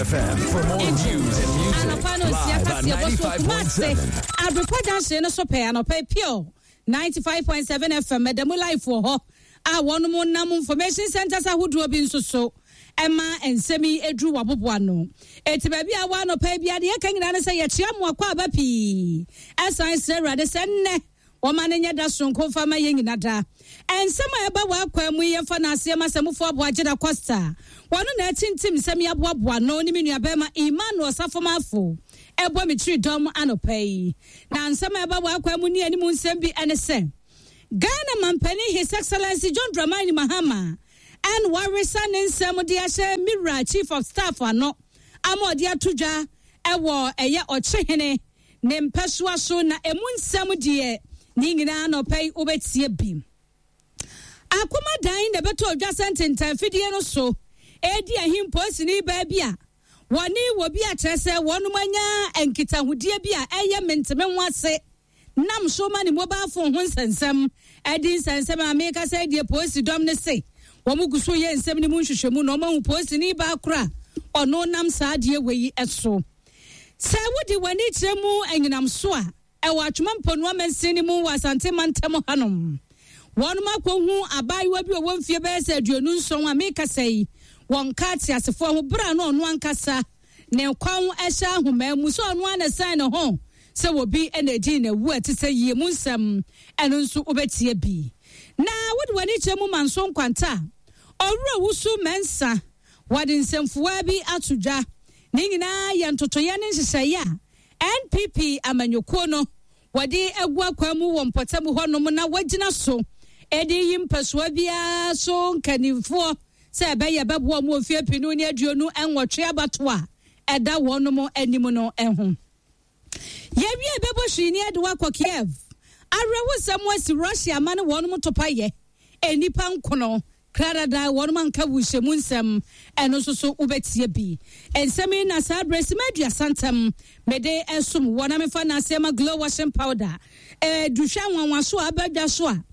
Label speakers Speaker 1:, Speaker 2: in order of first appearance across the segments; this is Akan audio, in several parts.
Speaker 1: FM for more news and music.
Speaker 2: Anɔpa no nsia
Speaker 1: Live on
Speaker 2: kaseɛ bɔ so Kumase
Speaker 1: 95.7.
Speaker 2: Abrepɔ junction no so pɛɛ anɔpa yi pure 95.7 FM ɛda mu live wɔ hɔ a wɔnom nam information centers ahodoɔ bi nso so ɛma nsɛm yi ɛduru waboboa no. Eti baabi a wɔ anɔpa yi bia deɛ ɛka nyinaa ne sɛ yɛkyea mo akɔ aba pii ɛsan srɛ Awurade sɛ nnɛ wɔma no nyɛ da soronko mfa ma yɛn nyina da. Nsɛm a ɛba wɔ akwan mu yi yɛmfa no aseɛ ma Sɛmufoɔ Aboagye Da Costa. Wɔno na atintim nsɛm yi aboaboa no ne me nuabɛrima Emmanuel Safomafo ɛbɔ me tiri dɔm anɔpa yi. Na nsɛm a ɛba wɔ akwan mu ne anim nsɛm bi ɛne sɛ Ghana mampanin His Excellency John Dramani Mahama ɛn waresa ne nsɛm de ahyɛ Mira Chief of Staff ano ama ɔde ato dwa ɛwɔ ɛyɛ ɔkyehene ne mpɛsoa so na emu nsɛm deɛ ne nyinaa anɔpa yi wobɛtie bi. Akoma dan na ɛbɛtɔ odwa sɛ ntentan fidie no so edi ahim polisini baa bi a wɔne wɔ bi akyerɛ sɛ wɔnom anya nkitahodie bi a ɛyɛ menteme ho ase nam so ma ne mobile phone ho nsɛnsɛm ɛdi nsɛnsɛm a meka sɛ deɛ polisi dɔm ne se wɔn gu so yɛ nsɛm no mu nhwehwɛmu na wɔn ahu polisini baa koro a ɔno nam saa adeɛ wɔ yi so. Sɛ wode w'ani kyerɛ mu anyinam so a ɛwɔ Atwoma Mponua mansin no mu wɔ Asante mantam hanom. Wɔnom akɔhu abaayewa bi a ɔwɔ mfie bɛyɛ sɛ 27 a mekasa yi wɔnka ateasefoɔ ho berɛ a na ɔno ankasa ne kwan hyɛ ahoma mu sɛ ɔno ara na ɛsan ne ho sɛ obi na ɛdi n'awu a ɛte sɛ yie mu nsɛm ɛno nso wobɛtie bi. Na wode w'ani kyerɛ mu Manso Nkwanta a Owura Wusu Mensah wɔde nsɛmfua bi ato dwa. Ne nyinaa yɛ ntotoeɛ ne nhyehyɛeɛ a NPP amanyɔkuo no wɔde agu akwan mu wɔ mpɔtam hɔnom na wɔagyina so de yi mpɛsoa biara so nkanimfoɔ sɛ ɛbɛyɛ bɛboa mu mfeɛ 2028 abato a ɛda wɔnom anim no ho. Yɛwie bɛbɔ hwii ne ɛde wakɔ Kiev. Awerɛhosɛm asi Russia ama ne wɔnom topayɛ nnipa nkono kradada wɔnom anka wuhyɛmu nsɛm ɛno nso so wobɛtie bi. Nsɛm yi na saa berɛ sima 30 ntam mede ɛsom wɔ na mefa n'aseɛ ma glow washing powder. Duhwɛ nwanwa so a abadwa so a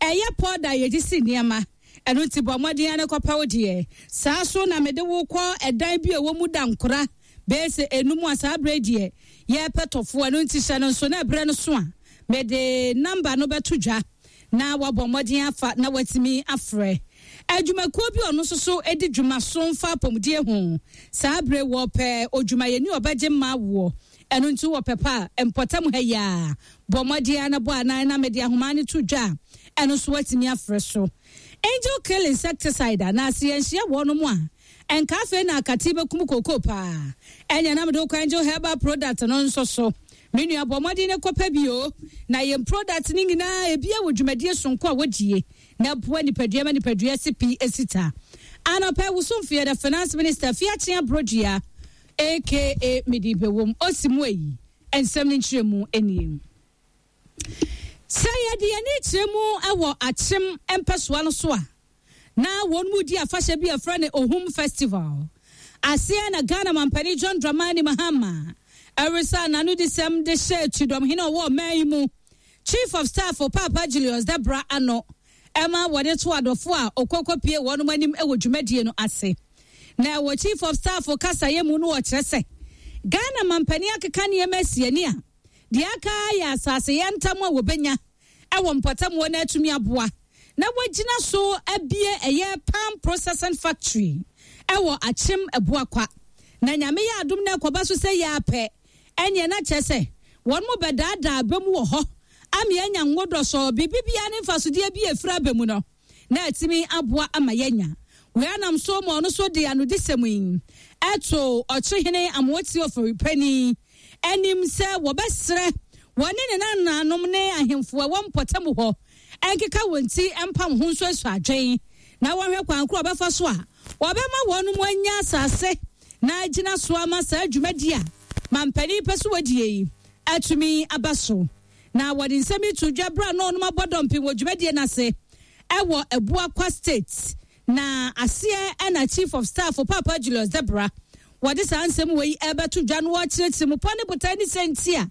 Speaker 2: ɛyɛ powder yɛgye si nneɛma ɛno nti bɔ mmɔden ne kɔpɛ wo deɛ. Saa so na mede wo kɔ ɛdan bi a ɛwɔ mu da nkora bɛyɛ sɛ enum a saa berɛ deɛ yɛpɛ tɔfoɔ ɛno nti hyɛ no nso na ɛberɛ no so a mede namba no bɛto dwa na wabɔ mmɔden afa na watumi afrɛ. Adwumakuo bi ɔno nso so di dwuma so mfa apɔmudie ho. Saa berɛ wɔpɛ odwumayɛni ɔbɛgye mma awoɔ. Ɛno nti wɔpɛ pa a mpɔtam ha yi a bɔ mmɔden na bɔ anan na mede ahoma no to dwa a ɛno nso watumi afrɛ so. Angel Kill insecticide anaasɛ yɛnhyia wɔnom a ɛnka afei na akate bɛkum kookoo paa. Ɛnyɛ na mede wokɔ Angel Herbal product no nso so. Me nua bɔ mmɔden ne kɔpɛ bi o. Na yɛn product no nyinaa ebia wɔ dwumadie sonko a wɔdie na ɛboa nipadua ma nipadua si pii esita. Anɔpɛ wosomfo the finance minister Fiakye Abrodua aka Medi Bewom osi mu eyi nsɛm ne nkyerɛmu nie. Sɛ yɛde yɛn ani kyerɛ mu wɔ Akyem mpɛsoa no so a na wɔn mu di afahyɛ bi a ɛfrɛ no Ohum Festival. Aseɛ na Ghana mampanin John Dramani Mahama ɛresa n'anodisɛm de hyɛ kyidɔmhene a ɔwɔ ɔman yi mu Chief of Staff Papa Julius Debra ano ɛma wɔde to adɔfo a ɔkɔkɔpie wɔn anim wɔ dwumadie no ase. Na ɛwɔ Chief of Staff kasayɛ mu no wɔkyerɛ sɛ Ghana mampanin akeka nneɛma asi ani a deɛ aka yɛ asase yɛ ntam a wɔbɛnya ɛwɔ mpɔtam wɔ no atumi aboa na wɔagyina so abie ɛyɛ palm processing factory ɛwɔ Akyem Abuakwa. Na Nyame yɛ adom na ɛkɔba so sɛ yɛ apɛ ɛneɛ na kyerɛ sɛ wɔn mo bɛdaadaa aba mu wɔ hɔ ama yɛanya ngo dɔsɔɔ biribi biara ne mfasodeɛ bi efiri aba mu no na atumi aboa ama yɛanya. Wei anam so ma ɔno so de anodisɛm yi ɛto ɔkyehene Amooti Ofori-Panin anim sɛ wɔbɛsrɛ wɔne ne nananom ne ahemfo a ɛwɔ mpɔtam hɔ ɛnkeka wɔn ti mpam ho nso asu adwen na wɔhwɛ kwan koro a wɔbɛfa so a wɔbɛma wɔn mu anya asase na agyina so ama saa dwumadi a mampanin pɛ so wɔdie yi atumi aba so. Na wɔde nsɛm yi to dwa berɛ a na ɔnom abɔ dɔmpem wɔ dwumadie no ase ɛwɔ Abuakwa State. Na aseɛ ɛna Chief of Staff Papa Julius Debra wɔde saa nsɛm wɔ yi ɛbɛto dwa no wɔkyerɛkyerɛ mu pa ne botae ne sɛ nti a